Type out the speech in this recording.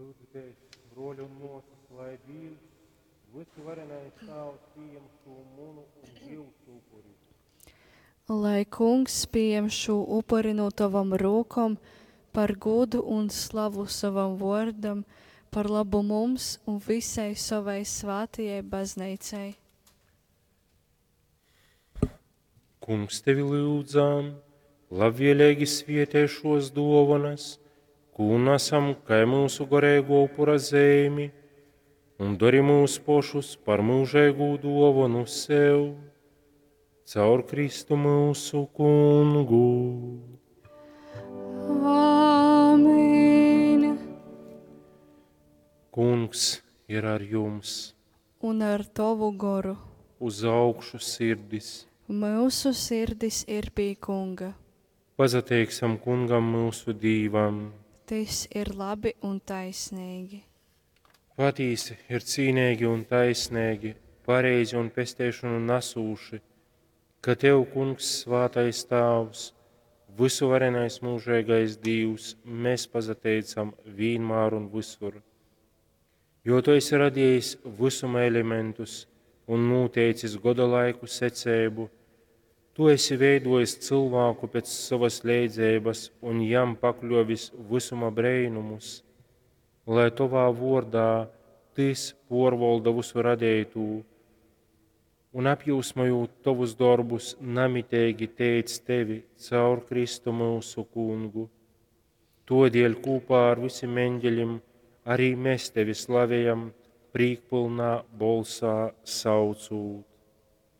Lyudzitēs, bruoļi un muosys, lai Dīvs, vysuvarenais Tāvs, pījam šū munu un jiusu upuri. Lai Kungs pījam šū upuri no tavom rūkom par gūdu un slavu sovam vuordam, par labu mums un visai sovai svātajai bazneicai. Kungs, tevi lyudzam, labvieleigi svietej šuos duovonas, kū nasam kai myusu goreiguo upura zeimi, un dori myus pošus par myužeigū duovonu sev. Caur Kristu myusu Kungu. Āmen! Kungs ir ar jums. Un ar tovu goru. Uz augšu sirdis. Myusu sirdis ir pie Kunga. Pasateiksim Kungam myusu Dīvam. Tys ir labi un taisnīgi. Patīsi ir cīneigi un taisneigi, pareizi un pesteišonu nasūši, ka Tev, Kungs, svātais Tāvs, vysuvarenais mūžeigais Dīvs, mēs pasateicam vīnmār un visur. Jo Tu esi radījis visuma elementus un noteicis goda laiku secību, Tu esi veidojis cilvēku pēc savas leidzeibas un jam pakļovis visuma breinumus, lai Tovā vordā Tys porvolda visu radētū un apjūsmojot Tovus dorbus, namiteigi teic Tevi caur Kristu myusu Kungu. Todēļ kopā ar visiem eņģeļiem arī mēs Tevi slavējam, prīkpilnā bolsā saucūt.